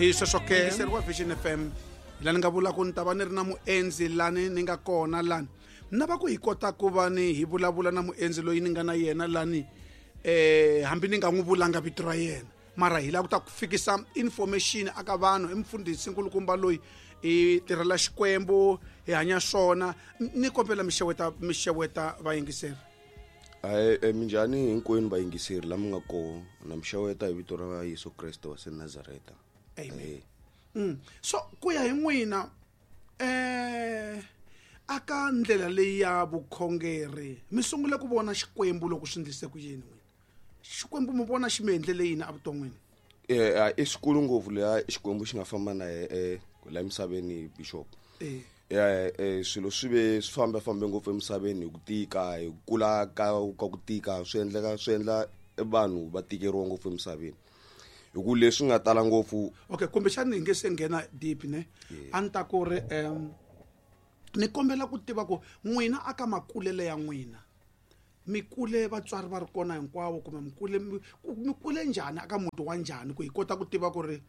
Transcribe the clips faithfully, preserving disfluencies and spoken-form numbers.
Hi sweswo ke wa Vision F M la ni nga vula ku ni ta va ni ri na muendzi lani ni nga kona lani na va ku hi kota ku va ni hi vulavula na muendzi loyi ni nga na yena lani eh hambi ni nga n'wi vulanga vito ra yena mara hi lava ku ta ku fikisa information aka vanhu i mfundhisi nkulukumba loyi hi tirhela Xikwembu hi hanya swona ni kombela mixeweta mixeweta vayingiseri. Ai minjhani hinkwenu vayingiseri lama nga kona na mixeweta hi vito ra Yesu Kreste wa se Nazareta. Amen. Mm. So ku ya hi n'wina eh aka ndlela leyi ya vukhongeri mi sungule ku vona Xikwembu loko swi ndlise ku yini n'wina? Xikwembu mi vona xi mi endlele yini evuton'wini? Eh i xikulu ngopfu leya Xikwembu xi nga famba na eh la emisaveni bishop. Eh eh swilo swi ve swi famba fambe ngopfu emisaveni hi ku tika hi kula ka ka ku tika swi endleka swi endla vanhu va tikeriwa ngopfu emisaveni. Hi ku leswi nga tala ngopfu. Okay, kumbexana hi nge se nghena deep ne a ni ta ku ri um ni kombela ku tiva ku n'wina aka makulele ya n'wina mi kule vatswari va ri kona hinkwavo kumbe mi kule mi kule njhani aka muti wa njhani ku hi kota ku tiva ku ri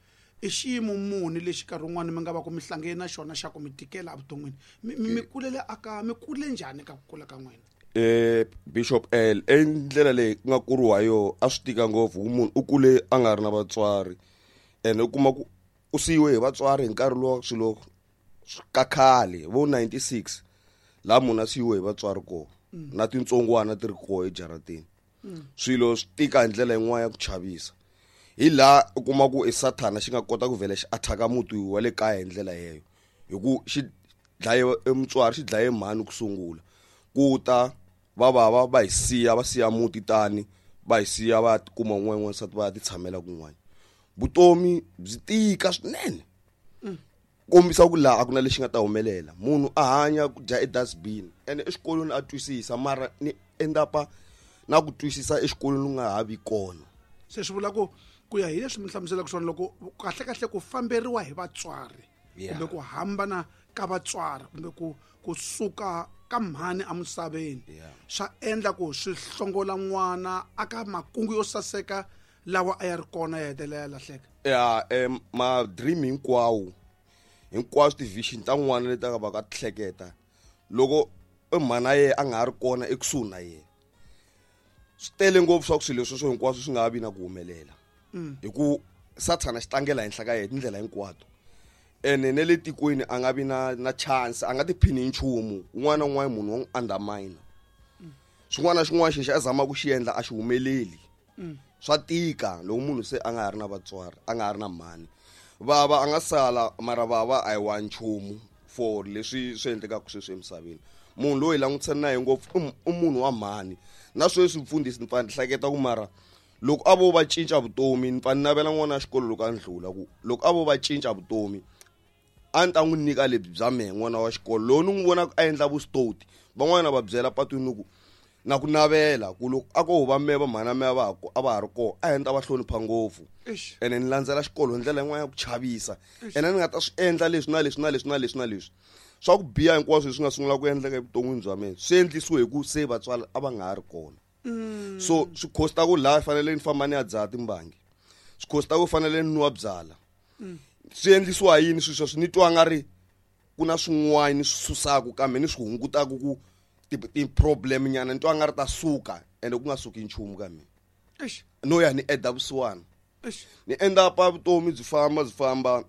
i xiyimo muni lexi nkarhi wun'wani mi nga va ku mi hlangene na xona xa ku mi tikela evuton'wini mi kulele aka mi kule njhani ka ku kula ka n'wina? Eh Bishop L e ndlela leyi ku nga kuriwa yo a swi tika ngopfu munhu u kule a nga ri na vatswari ene u kuma ku u siyiwe hi vatswari hi nkarhi lowu swilo ka khale vo ninety-six laha munhu a siyiwe hi vatswari kona na tintsongwana ti ri kona ejaratini swilo swi tika hi ndlela yin'wana ya ku chavisa hi laha u kuma ku i sathana xi nga kota ku vhela xi attack muti wa le kaya hi ndlela yeyo hi ku xi dlaye mutswari xi dlaye mhani ku sungula ku ta va va va hi siya va siya muti tani va hi siya va kuma un'wana n'wansati va ya ti tshamela kun'wana vutomi byi tika swinene kombisa ku laha a ku na lexi nga ta humelela munhu a hanya ku dya e-dustbin ene exikolweni a twisisa mara ni endapa na ku twisisa exikolweni u nga ha vi kona. Se swi vula ku ku ya hi leswi mi hlamuselaka swona loko kahle kahle ku famberiwa hi vatswari kumbe ku hambana ka vatswari kumbe ku kusuka ka mhani emisaveni swa endla ku swi hlongola n'wana aka makungu yo saseka lawa a ya ri kona ya hetelela ya lahleka. Ya ma dream hinkwawo hinkwaswo ti-vision ta n'wana leti a va ka hleketa loko mhana ye a nga ha ri kona ekusuhi na yena swi tele ngopfu swa ku swilo sweswo hinkwaswo swi nga vi na ku humelela hi ku sathana xi tlangela henhla ka yena tindlela hinkwato ene ne le tikweni a nga vi na na chance a nga tiphini hi nchumu un'wana na un'wana munhu wa n'wi undermine xin'wana na xin'wana xexi a zamaka ku xi endla a xi humeleli swa tika loko munhu se a nga ha ri na vatswari a nga ha ri na mhani vava a nga sala mara vava a hi wa nchumu for leswi swi endlekaka sweswi emisaveni munhu loyi langutisana na yena ngopfu i munhu wa mhani na sweswi mfundhisi ni pfa ni hleketa ku mara loko a vo va cinca vutomi ni pfa ni navela n'wana wa xikolo loko a ndlula ku loko a vo va cinca vutomi a ni ta n'wi nyika lebyi bya mehe n'wana wa xikolo lowu ni n'wi vonaka a endla vusitoti van'wana va byela patwini ku na ku navela ku loko a ko va mehe va mhana mehe va a va ha ri kona a endla va hlonipha ngopfu ene ni landzela xikolo hi ndlela yin'wana ya ku chavisa ene ni nga ta swi endla leswi na leswi na leswi na leswi na leswi swa ku biha hinkwaswo leswi nga sungula ku endleka evuton'wini bya mina swi endlisiwe hi ku se vatswari a va nga ha ri kona so swi costa ku laha fanele ni famba ni ya dzaha timbangi swi costa ku fanele ni nwa byala swi endlisiwa yini swilo sweswo ni twa nga ri ku na swin'wana ni swi susaka kambe ni swi hungutaka ku ti-problem nyana ni twa nga ri ta suka ende ku nga suki nchumu ka mina no ya ni eda vusiwana ni endla pa vutomi byi famba byi famba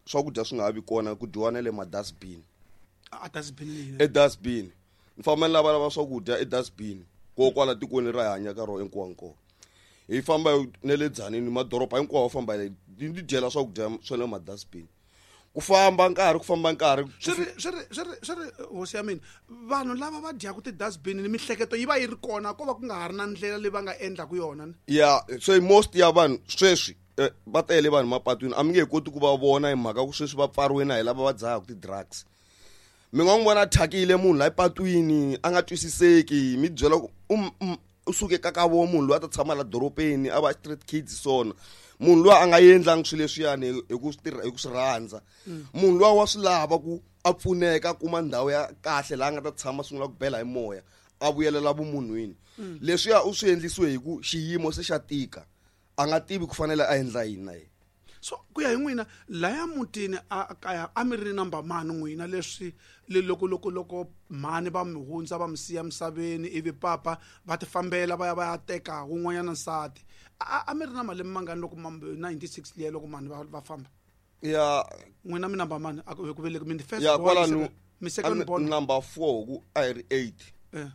swakudya swi nga ha vi kona ku dyiwa na le ma-dustbin e-dustbin ni famba ni lavalava swakudya e-dustbin ko kwala tikweni ra hi hanya ka rona hinkwankona hi famba na le Dzanini madoroba hinkwawo famba ni dyela swakudya swa le ma-dustbin ku famba nkarhi ku famba nkarhi swi ri swi ri swi ri swi ri hosi ya mina vanhu lava va dyaka ti-dustbin ni mihleketo yi va yi ri kona ko va ku nga ha ri na ndlela leyi va nga endlaku yona. Ya so most ya vanhu sweswi va tele vanhu mapatwini a mi nge koti ku va vona hi mhaka ku sweswi va pfariwe na hi lava va dzahaka ti-drugs mi nga n'wi vona thyakile munhu la epatwini a nga twisiseki mi byela ku u suke ka ka vo munhu loyi a ta tshama la dorobeni a va street kids swona munhu loyi a nga endlangi swilo leswiyani hi ku swi tirha hi ku swi rhandza munhu loyi wa swi lava ku a pfuneka a kuma ndhawu ya kahle laha a nga ta tshama sungula ku bela hi moya a vuyelela vumunhwini leswiya u swi endlisiwe hi ku xiyimo se xa tika a nga tivi ku fanele a endla yini na yena. So ku ya hi n'wina laya mutini a kaya a mi ri number mani n'wina leswi le loko loko loko mhani va mi hundza va mi siya misaveni ivi papa va ti fambela va ya va ya teka wun'wanyana nsati a a mi ri na malembe mangani loko ninety-six liya loko mhani va va famba ya n'wina mi number mani a ku ku veleki mi ni first ya born kwalano mi second born number four ku a hi ri eight eh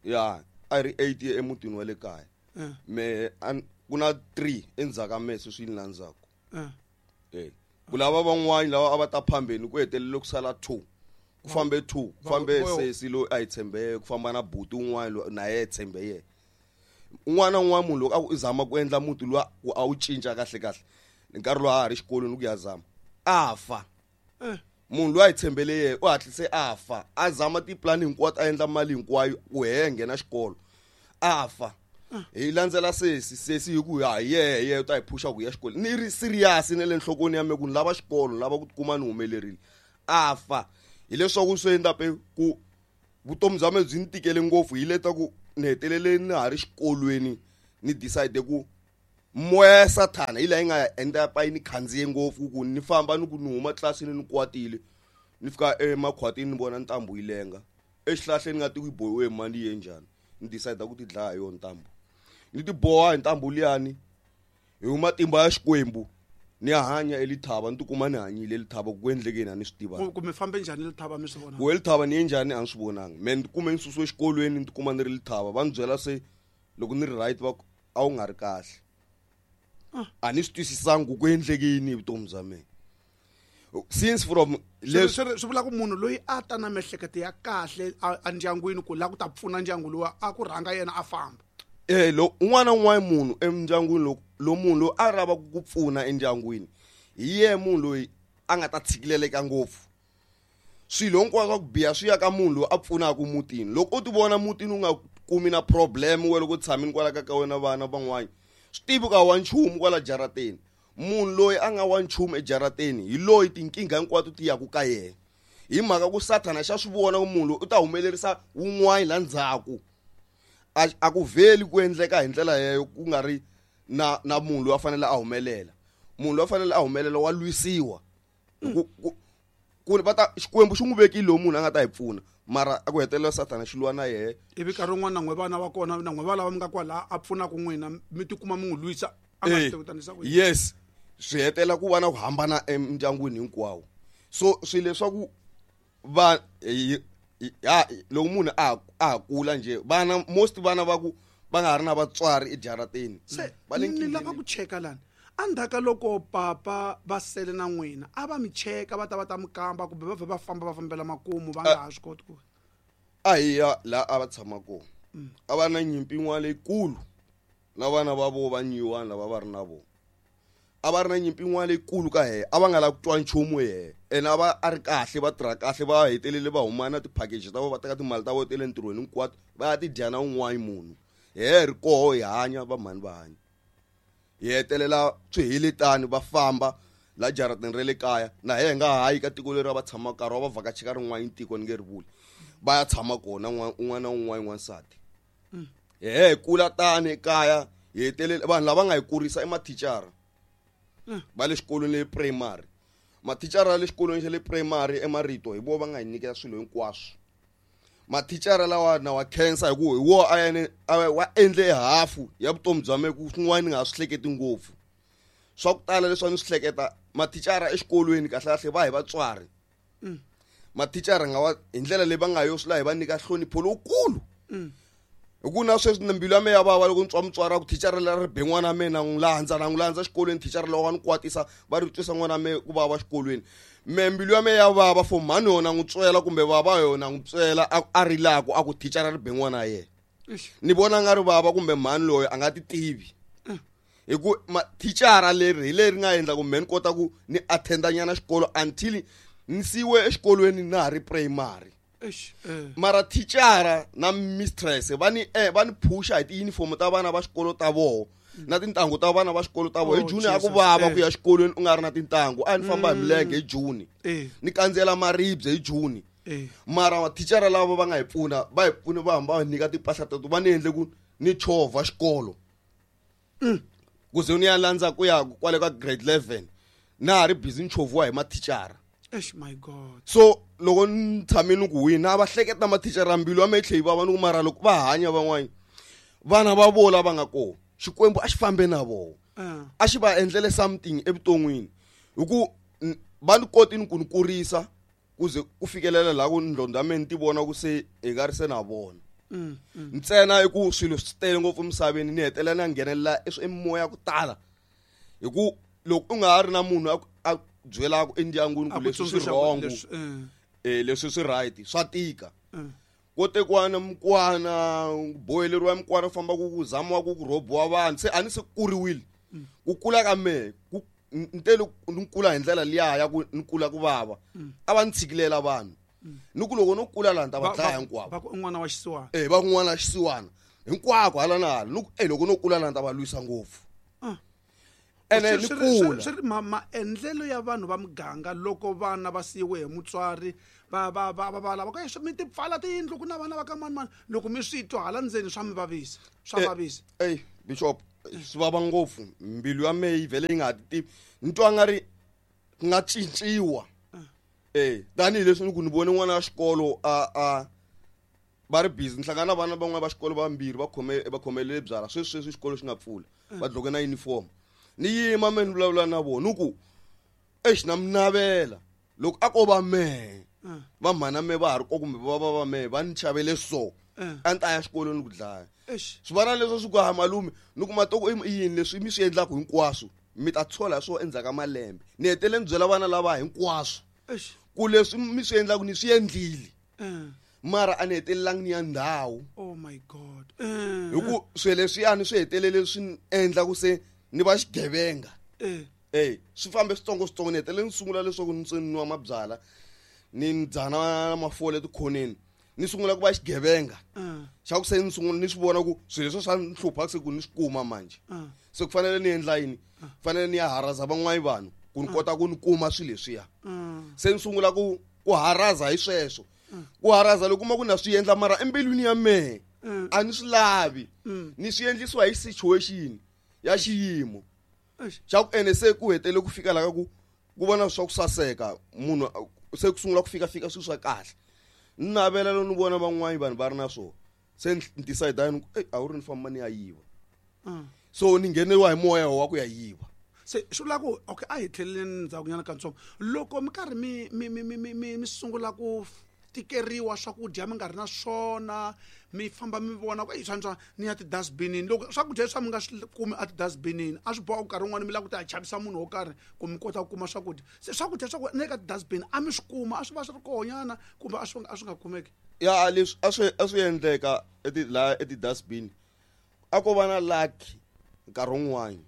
ya a hi ri eight emutini wa le kaya eh me an- ku na three endzhaku ka mehe sweswi ni landzaka eh eh ku lava van'wani lava a va ta phambeni ku hetelele ku sala two ku fambe two ku fambe Va- sesi loyi a hi tshembe yena ku famba na buti un'wana loyi na yena tshembe yena un'wana na un'wana munhu loko a ku i zama ku endla muti luwa ku a wu cinca kahle kahle nkarhi lowu a ha ri xikolweni ku ya zama a fa eh munhu loyi a hi tshembele yena u hatlise a fa a zama tipulani hinkwato a endla mali hinkwayo ku he nghena xikolo a fa hi landzela sesi sesi hi ku ha yehe yehe u ta hi phusha ku ya xikolweni ni ri serious na le nhlokweni ya me ku ni lava xikolo ni lava ku tikuma ni humelerile a fa hileswaku swi endla pe ku vutomi bya me byi ni tikele ngopfu hi leta ku ni hetelele ni ha ri xikolweni ni decide ku moya ya sathana hi laha yi nga endla pa yi ni khandziye ngopfu ku ni famba ni ku ni huma tlilasini ni kwatile ni fika emakhwatini ni vona ntambu yi lenga exihlahleni nga ti ku yi bohiwe hi mali yi ye njhani ni decide ku ti dlaya hi yona ntambu ni ti boha hi ntambu liyani hi matimba ya Xikwembu ni ya hanya elithava ni tikuma ni hanyile elithava ku endlekeni a ni swi tivanga ku ku mi fambe njhani lithava mi swi vona ku elithava ni ye njhani a ni swi vonanga me ni tikume ni susiwe exikolweni ni tikuma ni ri lithava va ni byela se loko ni ri right va ku a wu nga ri kahle a ni swi twisisanga ku ku endleke yini hi vutomi bya mina since from swi leswi swi swi vula ku munhu loyi a ta na miehleketo ya kahle a a ndyangwini ku lava ku ta pfuna ndyangu luwa a ku rhanga yena a famba eh lo un'wana na un'wana munhu endyangwini loko lo munhu loyi a lavaka ku pfuna endyangwini hi yena munhu loyi a nga ta tshikileleka ngopfu swilo hinkwaswo swa ku biha swi ya ka munhu loyi a pfunaka mutini loko u ti vona mutini u nga kumi na problem we loko u tshamini kwala ka ka wena vana van'wana swi tivi ka wa nchumu kwala jarateni munhu loyi a nga wa nchumu ejarateni hi loyi tinkingha hinkwato ti yaku ka yena hi mhaka ku sathana xa swi vona ku munhu loyi u ta humelerisa wun'wana la ndzhaku a a ku vheli ku endleka hi ndlela yeyo ku nga ri na na munhu loyi a fanele a humelela munhu loyi a fanele a humelela wa lwisiwa ku ku ku va ta Xikwembu xi n'wi vekile lowu munhu a nga ta hi pfuna mara a ku hetelela sathana xi lwa na yehe ivi nkarhi wun'wana na n'we vana va kona na n'we va lava mi nga kwala a pfunaka n'wina mi tikuma mi n'wi lwisa a nga swi Eh, tivi ku tanisa ku yini. yes swi hetelela ku va na ku hambana emindyangwini hinkwawo so swilo leswaku va hi- hi- ha loko munhu a ha- a ha kula njhe vana most vana va ku va nga ha ri na vatswari ejarateni se va le ni lava nkingheni. ku cheka lani endzhaku ka loko papa va sele na n'wina a va mi cheka va ta va ta mi kamba kumbe va vhe va famba va fambela makumu va nga ha swi koti ku a hi ya laha a va tshama kona a va na nyimpi yin'wana leyikulu na vana va vo va nyiwani lava va ri na vona a va ri na nyimpi yin'wana leyikulu ka hehe a va nga lavi ku twa nchumu hehe ene a va a ri kahle va tirha kahle va hetelele va huma na ti-package ta vona va teka timali ta vona ta le ntirhweni hinkwato va ya ti dya na un'wana munhu hehe ri koho hi hanya va mhani va hanya hi hetelela swi hele tani va famba la jaratini ra le kaya na hehe nga hayi ka tiko leri a va tshamaka karhi wa va vhakacha ka rin'wana tiko ni nge ri vuli va ya tshama kona un'wana na un'wana n'wansati hehe hi kula tani ekaya hi hetelele vanhu lava nga hi kurisa i mathicara va le xikolweni le primary mathicara ya le xikolweni xa le primary emarito hi vo va nga hi nyiketa swilo hinkwaswo mathicara lawa na wa khensa hi ku hi wo a yene a wa endle hafu ya vutomi bya me ku swin'wana ni nga ha swi hleketi ngopfu swa ku tala leswi a ni swi hleketa mathicara exikolweni kahle kahle va hi vatswari mathicara nga wa hi ndlela leyi va nga yo swi la hi va nyika nhlonipho lowukulu hi ku na sweswi na mbilu ya me ya vava loko ni twa mutswari a ku thicara leri ri be n'wana wa mina na n'wi landza na n'wi landza xikolweni thicara lowa wa ni kwatisa va ri twisa n'wana wa me ku vava xikolweni me mbilu ya me ya vava for mhani yona n'wi tswela kumbe vava yona n'wi tswela a a rilaku a ku thicara ri be n'wana wa yena Eish. ni vona nga ri vava kumbe mhani loyi a nga ti tivi hi ku thicara leri hi leri nga endla ku me ni kota ku ni attenda nyana xikolo until ni siwe exikolweni na ha ri primary Eish, eh. mara thicara na mistress va ni eh, va ni phusha hi tiyunifomo ta vana va xikolo ta voho na tintangu ta vana va xikolo ta voho hi Oh, June a ku Jesus, vava eh. ku ya xikolweni u nga ri na tintangu a ni famba hi milenge hi June Eh. ni kandziyela maribye hi June Eh. mara thicara lava va nga hi pfuna va hi pfune va hamba va hi nyika timpahla teto va ni endle ku ni chovha xikolo ku ze ni ya landza ku ya kwale ka grade eleven Na ha ri busy ni chovhiwa hi mathicara. Eish my god. So loko ni tshame ni ku wina a va hleketa mathicara mbilu ya mehe tlhe yi vava ni ku mara loko va hanya van'wana vana va vona lava nga kona Xikwembu a xi fambe na vona. A xi va endlele something evuton'wini hi ku va ni koti ni ku ni kurisa ku ze ku fikelela laha ku ndlondlo ya mehe ni ti vona ku se hi nga ri se na vona. Ntsena i ku swilo swi tele ngopfu emisaveni ni hetelela ni ya nghenelela emimoya ku tala hi ku loko u nga ha ri na munhu a a byelaka endyangwini ku leswi swi wrong eh leswi swi right swa tika. Ko tekiwa na mukwana boheleriwa mukwana famba ku ku zamiwa ku ku rhobiwa vanhu se a ni se kuriwile ku kula ka mehe ku ntele ni kula hi ndlela liya ya ku ni kula ku vava a va ni tshikilela vanhu ni ku loko no kula laha ni ta va dlaya hinkwavo va ku un'wana wa xisiwana eh va kun'wana wa xisiwana hinkwako hala na hala ni ku eh loko no kula laha ni ta va lwisa ngopfu ene ni kula swi ri maendlelo ya vanhu va muganga loko vana va siyiwe hi mutswari va va va va lava ku mi ti pfala tiyindlu ku na vana va ka mani mani loko mi swi twa hala ndzeni swa mi vavisa swa vavisa ey bishop swi vava ngopfu mbilu ya mehe yi vhele yi nga ha ti tivi ni twa nga ri ku nga cinciwa eh tanihileswi ni ku ni vone n'wana wa xikolo a a va ri busy ni hlangana na vana van'wana va xikolo vambirhi va khome va khomelele byala sweswi sweswi xikolo xi nga pfula va dloke na uniform ni yima me ni vulavula na vona ni ku exi na mi navela loko a ko va mehe va mhana mehe va ha ri ko kumbe va va va mehe va ni xavele so a ni ta ya xikolweni ku dlaya swi vana leswi swi ku ha malume ni kuma toko i yini leswi mi swi endlaka hinkwaswo mi ta tshola hi swona endzhaku ka malembe ni hetele ni byela vana lava hinkwaswo ku leswi mi swi endlaka ni swi endlile mara a ni hetelelangi ni ya ndhawu oh my god hi ku swilo leswiyani swi hetelele swi ni endla ku se ni va xigevenga eh swi fambe switsongo switsongo ni hetelele ni sungula leswaku ni se nwa mabyala ni dzana mafole etikhoneni ni sungula ku va xigevenga xa ku se ni sungula ni swi vona ku swilo leswi swa ni hlupha se ku ni swi kuma manje se ku fanele ni endla yini fanele ni ya haraza van'wani vanhu ku ni kota ku ni kuma swilo leswiya se ni sungula ku ku haraza hi sweswo ku haraza loko kuma ku na swi endla mara embilwini ya mehe a ni swi lavi ni swi endlisiwa hi situation ya xiyimo xa ku ene se ku hetele ku fika laha ku ku vona swa ku saseka munhu se ku sungula ku fika fika swilo swa kahle ni navela loko ni vona van'wani vanhu va ri na swona se ni decide ni ku ey a wu ri ni famba ni ya yiva so ni ngheneriwa hi moya wa ku ya yiva se swi vula ku okay a hi tlheleleni ndzhakunyana katsongo loko mi karhi mi mi mi mi mi mi sungula ku tikeriwa swakudya mi nga ri na swona mi famba mi vona ku swa ni ya ti-dustbinini loko swakudya leswi mi nga swi kumi a ti-dustbinini a swi boha ku nkarhi wun'wani mi lava ku ta chavisa munhu wo karhi ku mi kota ku kuma swakudya se swakudya swa ku ni le ka ti-dustbin a mi swi kuma a swi va swi ri kohonyana kumbe a swi a swi nga kumeki ya leswi a swi a swi endleka eti laha eti-dustbin a ko va na lucky nkarhi wun'wani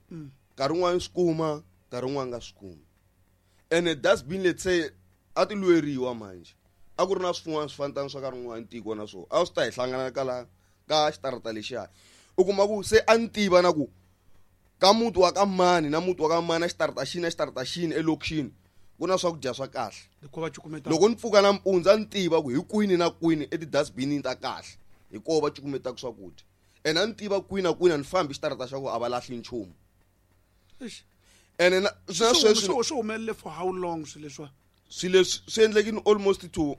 nkarhi wun'wani swi kuma nkarhi wun'wani nga swi kumi ene dustbin let's say a ti lweriwa manje a ku ri na swin'wana swi fanitana swa nkarhi wun'wani tiko na swona a swi ta hi hlangana ka la ka xitarata lexiya u kuma ku se a ni tiva na ku ka muti wa ka mani na muti wa ka mani na xitarata xini na xitarata xini elokixini ku na swakudya swa kahle loko ni pfuka nampundzu a ni tiva ku hi kwini na kwini eti-dustbinini ta kahle hi koho va cukumetaka swakudya ene a ni tiva kwini na kwini a ni fambi xitarata xa ku a va lahli nchumu ene na swi sweswi swi humelele for how long swilo leswiwa swilo leswi swi endlekini almost to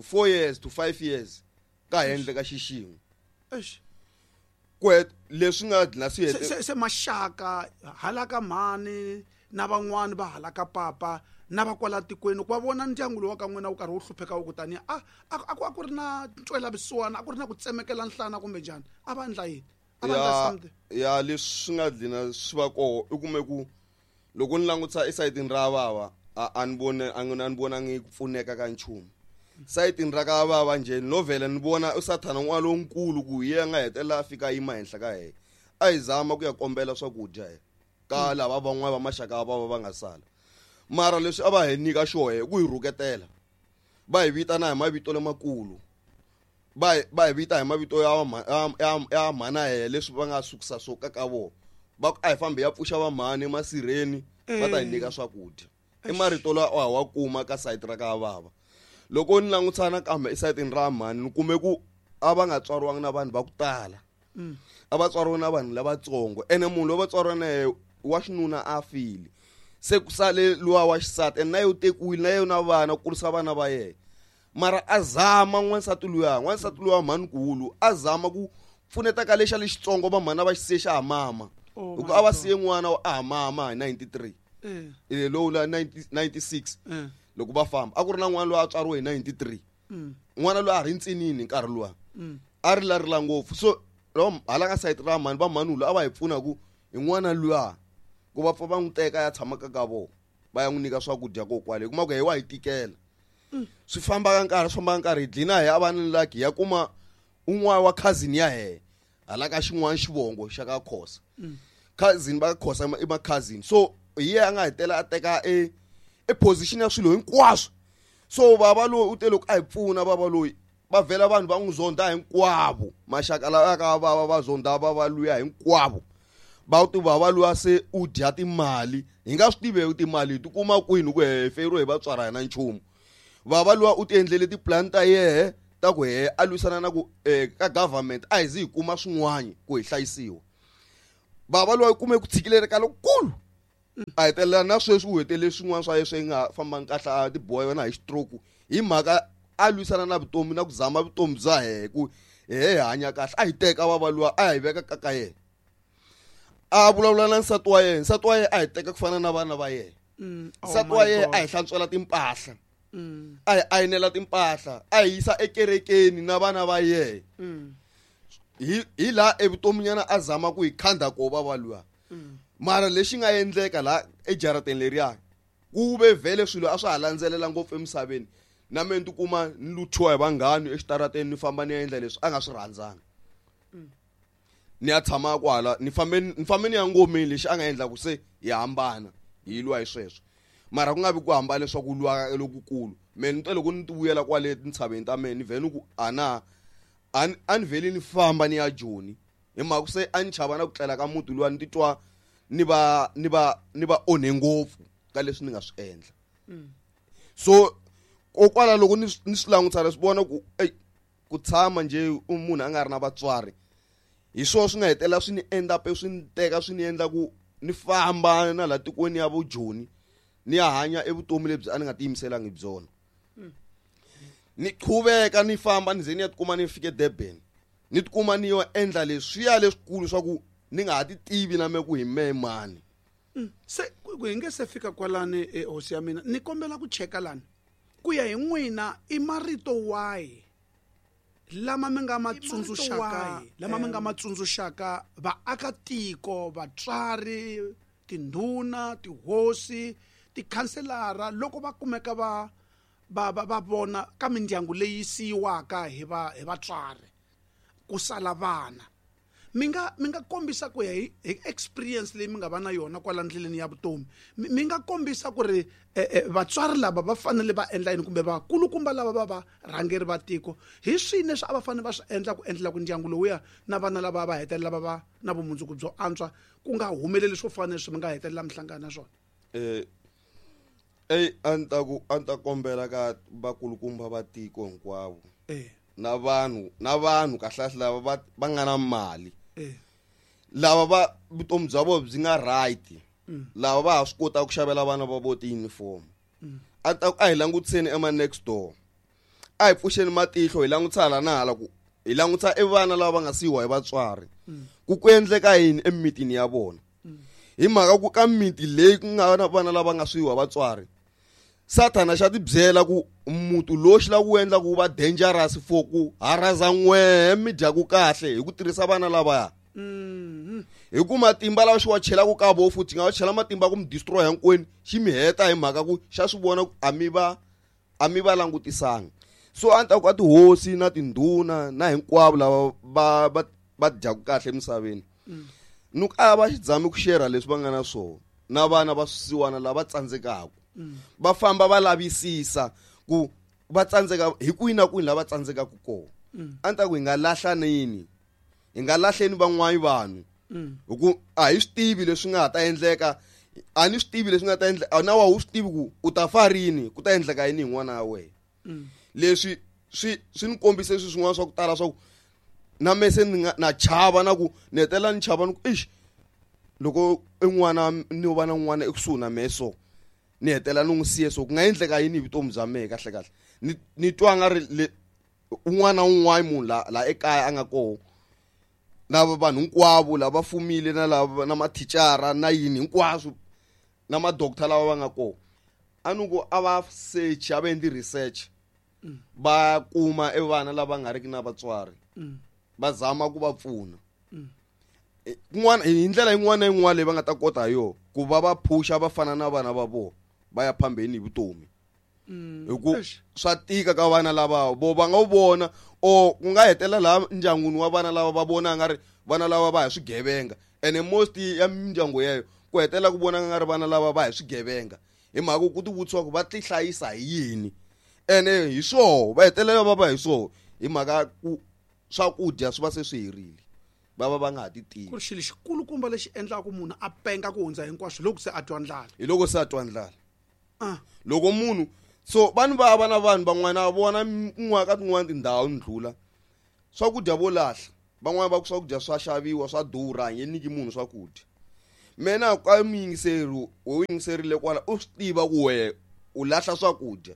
four years to five years ka ha endleka xixin'we ku leswi nga dlina swi se se maxaka hala ka mhani na van'wani va hala ka papa na va kwala tikweni ku va vona ndyangu lowu wa ka n'wina wu karhi wu hlupheka wu kutani a a ku a ku ri na ntwela vusiwana a ku ri na ku tsemekela nhlana kumbe njhani a va endla yini a va endla something ya leswi swi nga dlina swi va koho i kume ku loko ni langutisa esayitini ra vava a ni vone a ni vonangi ku pfuneka ka nchumu sayitini ra ka vava njhe no vhela ni vona u sathana n'wana lonkulu ku hi yena nga hetelela a fika a yima henhla ka yena a hi zama ku ya kombela swakudya he ka lava van'wana va maxaka va va va nga sala mara leswi a va hi nyika xohe ku hi rhuketela va hi vitana hi mavito lamakulu va va hi vita hi mavito ya ya ya mhana yena leswi va nga sukisa swo ka ka vona va ku a hi fambi ya pfuxa vamhani emasirheni va ta hi nyika swakudya i marito lawa a wa kuma ka sayiti ra ka vava loko ni langutisa nakambe esayitini ra mhani ni kume ku a va nga tswariwanga na vanhu va ku tala a va tswariwe na vanhu lavatsongo ene munhu loyi va tswariwa na yena wa xinuna a file Se ku sale luwa wa xisati and na yo tekiwile na yena vana kurisa vana va yena. Mara a zama n'wansati luya, n'wansati luya mhanikulu a zama ku pfuneta ka lexa lexitsongo va mhana va xisiye xa ha mama. Oh Loko my a va God. siye n'wana wa a ha mama hi ninety-three. Eh. Eh, lowu la ninety-six. Eh. Loko va famba a ku ri na n'wana loyi a tswariwe hi ninety-three. Mm. N'wana loyi a ri ntsinini nkarhi luwa. Mm. A ri la rila ngopfu. So loko hala ka side ra mhani va mhani loyi a va hi pfuna ku hi n'wana luya ku va pfa va n'wi teka ya tshama ka ka vona va ya n'wi nyika swakudya ko kwale hi kuma ku hi wa hi tikela. Mm. Swi famba ka nkarhi, swi famba ka nkarhi hi dlina hi ya va ni lucky ya kuma un'wana wa cousin ya yena hala ka xin'wana xivongo xa ka Khosa. Mm. Cousin va Khosa i ma cousin. So hi yena a nga hetela a teka e, e position ya swilo hinkwaswo. So baba loyi u te loko a hi pfuna baba loyi va vhela vanhu va n'wi zonda hinkwavo. Maxaka lawa ka va va va zonda va va luya hinkwavo. Va ti baba luya se u dya timali. Hi nga swi tivi timali hi ti kuma kwini ku he feriwe hi vatswari a hi na nchumu. Baba luya u ti endlele ti-plan ta yehe ta ku he a lwisana na ku, eh, ka government a hi zi hi kuma swin'wana ku hi hlayisiwa. Baba luya u kume ku tshikileleka lokukulu. A hetelela na sweswi u hetelele swin'wana swa yena swi nga fambanga kahle a ti boha yona hi stroke hi mhaka a lwisana na vutomi na ku zama vutomi bya yena ku he hi hanya kahle. A hi teka baba luya a hi veka ka ka yena. A vulavula na nsati wa yena, nsati wa yena a hi teka ku fana na vana va yena. Mm. Oh Nsati my wa yena God. a hi hlantswela timpahla. Mm. A hi ayinela timpahla, a hi yisa ekerekeni na vana va yena. Mm. Hi, hi laha evutominyana a zama ku hi khanda ko baba luya. Mm. Mara lexi nga endleka laha ejarateni leriya ku ve vhele swilo a swa ha landzelela ngopfu emisaveni. Na mina ni tikuma ni luthiwa hi vanghani exitarateni ni famba ni ya endla leswi a nga swi rhandzanga. Mm. Ni ya tshama kwala, ni fambe ni fambe ni ya ngomeni lexi a nga endla ku se hi hambana hi lwa hi sweswo. Mara ku nga vi ku hambana leswaku lwa lokukulu. Mina ni twa loko ni ti vuyela kwale tintshaveni ta mina ni vhele ni ku a na, a ni, a ni vheli ni famba ni ya Joni. Hi mhaka ku se a ni chava na ku tlela ka muti luwa ni titwa ni va, ni va, ni va onhe ngopfu ka leswi ni nga swi endla. Mm. So kokwala loko ni, ni swi langutisa ni swi vona ku, ey, ku tshama nje u munhu a nga ri na vatswari hi swona swi nga hetelela swi ni end up swi ni teka swi ni endla ku ni famba na laha tikweni ya vo Joni ni ya hanya evutomi lebyi a ni nga tiyimiselanga hi byona. Mm. Ni qhuveka ni famba ni ze ni ya tikuma ni fike Durban. Ni tikuma ni yo endla leswiya leswikulu swa ku ni nga ha ti tivi na me ku hi mehe mani. Mm. Se ku, ku hi nge se fika kwalani, eh, hosi ya mina, ni kombela ku cheka lani. Ku ya hi n'wina i marito wahi lama mi nga ma I marito tsundzuxaka, wahi? lama mi nga Em. ma tsundzuxaka vaakatiko, vatswari, tindhuna, tihosi, tikhanselara loko va kumeka va, va, va, va vona ka mindyangu leyi siyiwaka hi va, hi vatswari ku sala vana. Mi nga, mi nga kombisa ku ya hi, hi experience leyi mi nga va na yona kwala ndleleni ya vutomi. Mi, mi nga kombisa ku ri, eh, eh, vatswari lava va fanele va endla yini kumbe vakulukumba lava va va rhangeri va tiko hi swihi leswi a va fanele va swi endla ku endlela ku ndyangu lowuya na vana lava va hetelela va va na vumundzuku byo antswa ku nga humeleli swo fana leswi mi nga hetelela mi hlangana na swona. Eh, ey, a ni ta ku, a ni ta kombela ka vakulukumba va tiko hinkwavo. Eh. Na vanhu, na vanhu kahlekahle lava va, va nga na mali. Eh. Lava va vutomi bya vona byi nga right. Mm. Lava va ha swi kotaka ku xavela vana va vona ti-uniform. Mm. A ta ku a hi langutiseni ema next door. A hi pfuxeni matihlo hi langutisa hala na hala ku hi langutisa e vana lava va nga siyiwa hi vatswari. Mm. Ku ku endleka yini emimitini ya vona. Mm. Hi mhaka ku ka miti leyi ku nga na vana lava nga siyiwa hi vatswari, Sathana xa ti byela ku muti lowu xi lava ku endla ku va dangerous for ku haraza n'wehe mi dyaku kahle hi ku tirhisa vana lavaya. Mm-hmm. Hi ku matimba lawa xi wa chelaka ka vo futhi, xi nga wa chela matimba ku mi destroy hinkwenu, xi mi heta hi mhaka ku xa swi vona ku a mi va, a mi va langutisanga. So a ni ta ku a tihosi na tindhuna na hinkwavo lava va, va, va dyaku kahle emisaveni. Mm. Ni ku a va xi zami ku share leswi va nga na swona na vana va swisiwana lava tsandzekaka. Mm. Va famba va lavisisa ku va tsandzeka hi kwihi na kwihi lava tsandzekaka kona. Mm. A ni ta ku hi nga lahlaneni, hi nga lahleni van'wani vanhu. Mm. Hi ku a hi swi tivi leswi nga ta endleka, a ni swi tivi leswi nga ta endleka, na wa wu swi tivi ku u ta fa rini, ku ta endleka yini hi n'wana wa wena. Mm. Leswi swi, swi ni kombise swilo swin'wana swa ku tala swa ku na me se ni nga, na chava na ku ni hetelela ni chava ni ku, eish, loko en'wana ni va na n'wana ekusuhi na mehe so ni hetela ni n'wi siye so ku nga endleka yini hi vutomi bya mehe kahle kahle ni ni twa nga ri le un'wana na un'wana munhu la la ekaya a nga koho na vanhu hinkwavo lava fumile na lava na mathicara na yini hinkwaswo na ma-doctor lava va nga koho a ni ku a va search a va endli research va kuma e vana lava nga riki na vatswari va zama ku va pfuna kun'wana hi ndlela yin'wana na yin'wana leyi va nga ta kota hi yona ku va va phusha va fana na vana va vona va ya phambeni hi vutomi hi ku swa tika ka vana lava vo va nga wu vona or ku nga hetelela laha ndyangwini wa vana lava va vona nga ri vana lava va hi swigevenga ene most ya mindyangu yeyo ku hetelela ku vona nga ri vana lava va hi swigevenga hi mhaka ku ti vutisiwa ku va ti hlayisa hi yini ene hi swoho va hetelela va va hi swoho hi mhaka ku swakudya swi va se swi herile va va va nga ha ti tivi ku ri xilo xikulukumba lexi endlaka munhu a penga ku hundza hinkwaswo loko se a twa ndlala hi loko se a twa ndlala loko munhu so vanhu va va na vanhu van'wana vona kun'wana ka tin'wana tindhawu ndlula swakudya vo lahla van'wana va ku swakudya swa xaviwa swa durha nge nyiki munhu swakudya mina ka muyingiseri wo yingiserile kwala u swi tiva ku wehe u lahla swakudya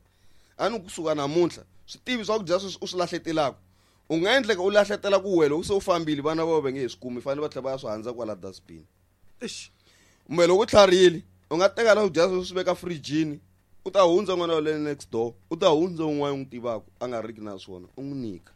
a ni kusuka namuntlha swi tivi swakudya sweswi u swi lahletelaka u nga endleka u lahletela ku wena loko se u fambile vana va va nge he swi kumi fanele va tlhela va ya swi handza kwala dustbin kumbe loko u tlharihile u nga teka la kudya sweswi swi veka frijini u ta hundza n'wana wa le next door u ta hundza un'wana u n'wi tivaka a nga riki na swona u n'wi nyika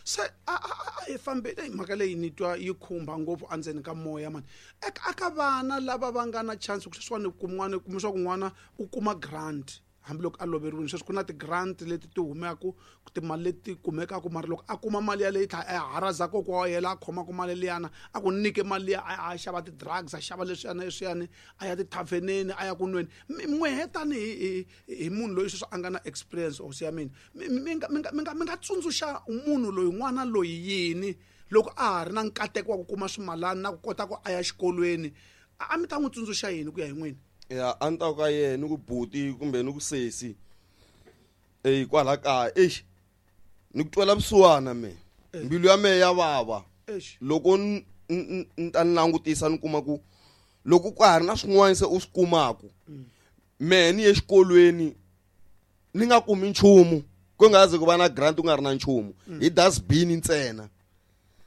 se a a hi fambile hi mhaka leyi ni twa yi khumba ngopfu endzeni ka moya mani eka ka vana lava va nga na chance ku sweswiwani kun'wana kuma swa ku n'wana u kuma grant hambiloko a loveriwile sweswi ku na ti-grant leti ti humeku timali leti kumekaka mara loko a kuma mali yaleyi tlha a haraza kokwa wa yena a khomaka mali liyana a ku nyike mali liya a xava ti-drugs a xava leswiyana leswiyani a ya tithavheneni a ya ku nweni n'wehe tanihi hi munhu loyi sweswi a nga na experience hosi ya mina mi nga mi nga mi nga mi nga tsundzuxa munhu loyi n'wana loyi yini loko a ha ri na nkateko wa ku kuma swimalana na ku kota ku a ya xikolweni a mi ta n'wi tsundzuxa yini ku ya hi n'wina ya a ni ta ka yena ni ku buti kumbe ni ku sesi eyi kwala kaya exi ni ku twela vusiwana me mbilu ya mehe ya vava loko ni ta ni langutisa ni kuma ku loko ka ha ri na swin'wana se u swi kumaku mehe ni ye xikolweni ni nga kumi nchumu ku nga ze ku va na grant ku nga ri na nchumu hi dustbin ntsena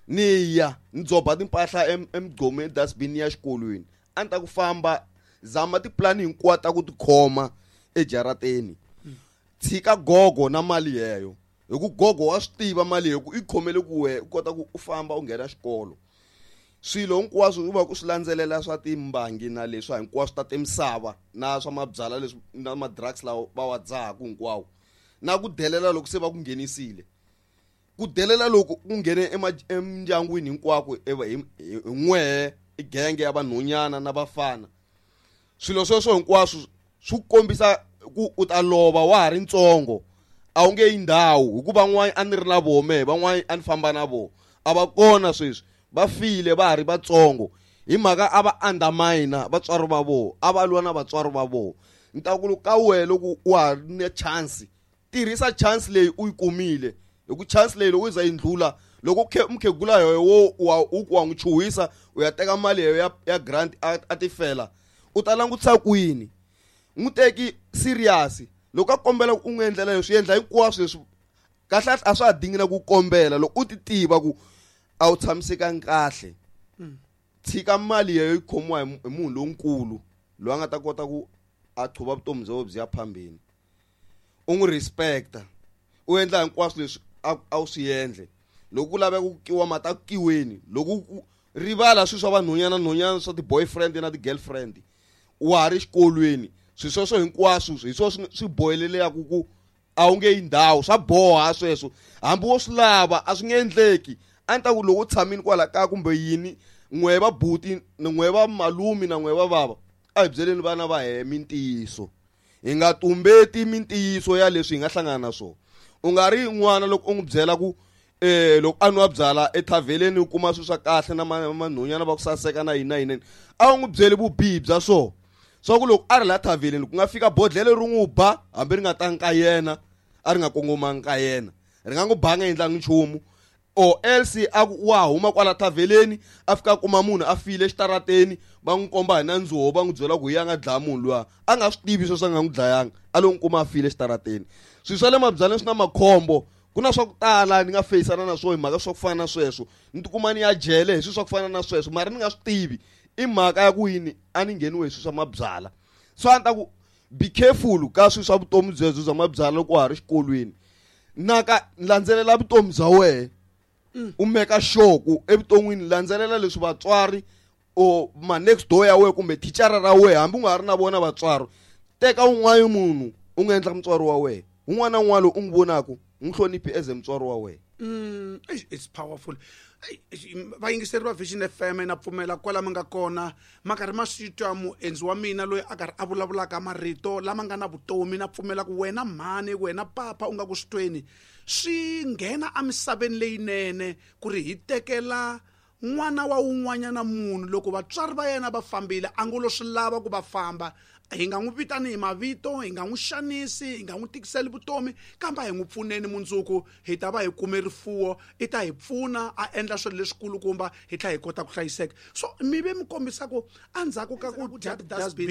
ni ya ni dzoba timpahla emigqomeni dustbin ya xikolweni a ni ta ku famba zama tipulani hinkwato ta ku tikhoma ejarateni tshika gogo na mali yeyo hi ku gogo wa swi tiva mali yeyo ku i khomele ku wehe u kota ku u famba u nghena xikolo swilo hinkwaswo u va ku swi landzelela swa timbangi na leswa hinkwaswo ta timisava na swa mabyala leswi na ma-drugs lawa va wa dzahaku hinkwawo na ku delela loko se va ku nghenisile ku delela loko ku nghene emindyangwini hinkwako hi n'wehe i genge ya vanhwanyana na vafana swilo sweswo hinkwaswo swi kombisa ku u ta lova wa ha ri ntsongo a wu nge yi ndhawu hikuva van'wana a ni ri na voho mehe van'wana a ni famba na voho a va kona sweswi va file va ha ri vatsongo hi mhaka a va undermine vatswari va voho a va lwa na vatswari va voho ni ta ku ka wehe loko wa ha ri na chance tirhisa chance leyi u yi kumile hi ku chance leyi loko yi za yi ndlula loko mukhegula yoyo wo wa u ku wa n'wi chuhisa u ya teka mali yoyo ya, ya grant a, a tifela u ta langutisa kwini n'wi teki serious loko a kombela ku u n'wi endlela leswi endla hinkwaswo leswi kahle a swa ha dingi na ku kombela loko u ti tiva ku a wu tshamisekanga kahle tshika mali yeyo yi khomiwa hi munhu lonkulu loyi a nga ta kota ku a qhuva vutomi bya byi ya phambeni u n'wi respecta u endla hinkwaswo leswi a wu swi endle loko ku laveka ku kiwa mata ku kiweni loko ku rivala swilo swa vanhwanyana nhwanyana swa ti-boyfriend na ti-girlfriend wa ha ri xikolweni swilo sweswo hinkwaswo hi swona swi bohelelaka ku a wu nge yi ndhawu swa boha sweswo hambi wo swi lava a swi nge endleki a ni ta ku loko u tshamile kwala kaya kumbe yini n'we va buti n'we va malume na n'we va bava a hi byeleni vana va hehe mintiyiso hi nga tumbeti mintiyiso ya leswi hi nga hlangana na swona u nga ri n'wana loko u n'wi byela ku eh loko a nwa byala ethavheleni u kuma swilo swa kahle na manhwanyana va ku saseka na yini na yini a wu n'wi byeli vubihi bya swona swa ku loko a ri la thavheleni ku nga fika bodlele ri n'wi ba hambi ri nga tangi ka yena a ri nga kongomangi ka yena ri nga n'wi ba nga endlangi nchumu Or else a ku wa huma kwala thaveleni a fika a kuma munhu a file xitarateni va n'wi komba hi nandzuwo va n'wi byela ku hi ya nga dlaya munhu luya a nga swi tivi sweswo a nga n'wi dlayanga a lo n'wi kuma a file xitarateni. Swilo swa le mabyaleni swi na makhombo, ku na swa ku tala ni nga feyisana na swona hi mhaka swa ku fana na sweswo, ni tikuma ni ya jele hi swilo swa ku fana na sweswo mara ni nga swi tivi i mhaka ya ku yini a ni ngheniwe hi swilo swa mabyala. So a ni ta ku be careful ka swilo swa vutomi byebyo bya mabyala loko wa ha ri xikolweni, na ka landzelela vutomi bya wena u meka sure ku evuton'wini landzelela leswi vatswari or ma next door ya wena kumbe thicara ra wena hambi u nga ha ri na vona vatswari, teka un'wana munhu u nga endla mutswari wa wena, un'wana na un'wana loyi u n'wi vonaka n'wi hloniphi as mutswari wa wena. Mm, it's powerful. Vayingiseri va Vision F M na pfumela kwala mi nga kona ma karhi ma swi twa muendzi wa mina loyi a karhi a vulavulaka marito lama nga na vutomi, na pfumela ku wena mhani wena papa u nga ku swi tweni swi nghena emisaveni leyinene ku ri hi tekela n'wana wa un'wanyana munhu loko vatswari va yena va fambile a ngo lo swi lava ku va famba, hi nga n'wi vitani hi mavito, hi nga n'wi xanisi, hi nga n'wi tikiseli vutomi, kambe a hi n'wi pfuneni mundzuku hi ta va hi kume rifuwo, i ta hi pfuna a endla swilo leswikulukumba hi tlhela hi kota ku hlayiseka. So mi ve mi kombisa ku endzhaku ka ku dya dustbin